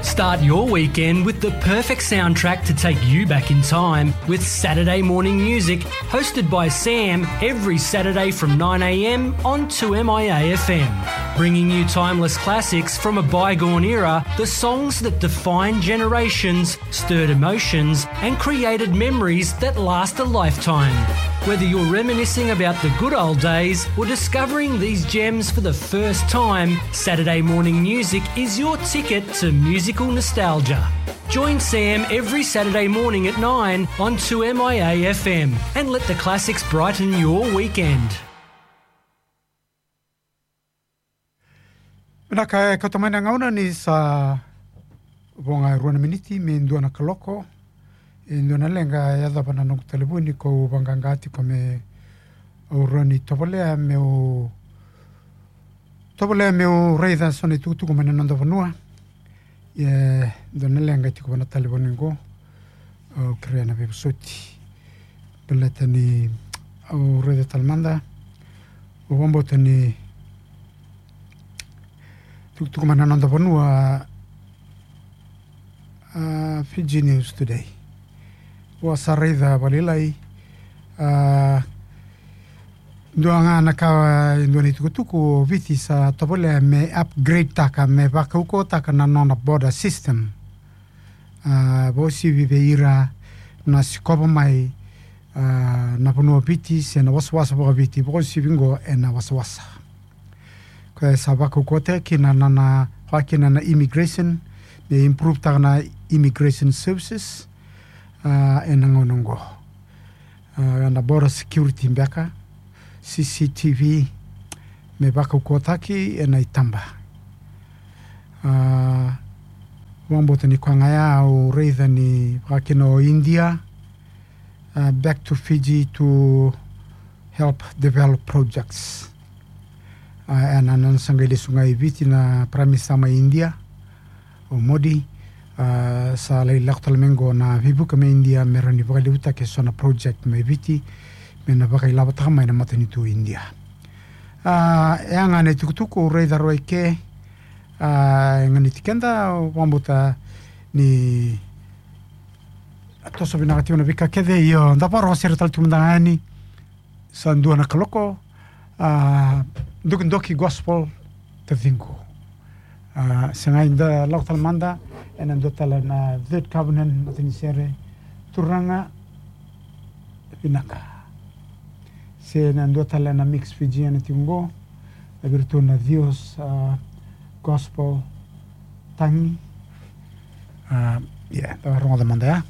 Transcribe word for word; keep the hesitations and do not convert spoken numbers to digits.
Start your weekend with the perfect soundtrack to take you back in time with Saturday Morning Music, hosted by Sam, every Saturday from nine a.m. on two M I A F M. Bringing you timeless classics from a bygone era, the songs that define generations, stirred emotions, and created memories that last a lifetime. Whether you're reminiscing about the good old days or discovering these gems for the first time, Saturday Morning Music is your ticket to musical nostalgia. Join Sam every Saturday morning at nine on two M I A F M and let the classics brighten your weekend. Vinaka, e kauta mai na gauna ni sa vo ga e rua na miniti me dua na kaloko. E dua na leqa e yacova na noqu talevoni, kau vaqaqa tiko me au rawa ni tovolea meu tovolea meu raica so na itukutuku mai na noda vanua. E dua na leqa e tiko va na talevoni qo. Au kerea na veivosoti baleta ni au raica tale mada. Au vakabauta ni tukutuku mai na noda vanua, a, Fiji News Today. Au sa raica vakalailai, a, dua ga na ka, e dua na itukutuku, o Viti sa tovolea me upgrade taka, me vakaukauwataka na nona border system. A, vakauasivi vei ira na sikova mai, a, na vanua o Viti se na wasawasa vakaViti, vakauasivi qo ena wasawasa. Koya e sa vakaukauwataki na, na, na, vaka kina na immigration, me improve taka na immigration services, a, ena gauna qo. A, na border security beka, C C T V, me vakaukauwataki ena itaba. A, vakabauta ni koya ga ya au raica ni vaka kina o India, a, back to Fiji to help develop projects. A, ena nona sa qai lesu ga i Viti na Prime Minister mai India, o Modi, a, sa lai lako tale mai qo na veivuke mai India me rawa ni vakalevutaki eso na project mai Viti, me na vakailavotaka mai na matanitu o India. A, e a ga na itukutuku au raica rawa i ke, a, e ganiti keda, au vakabauta ni toso vinaka tiko na veika kece, io, da vakarorogo sara tale tiko mada ga yani. Sa dua na kaloko, a, Dokidoki Gospel, taciqu. A, se qai da lako tale mada ena dua tale na Third Covenant, matanisere, Turaga Vinaka. Se na dua tale na mix Fijian tiko qo, na vei iratou na Dios, a, Gospel, Tagi. A, ia, da rogoca mada ya.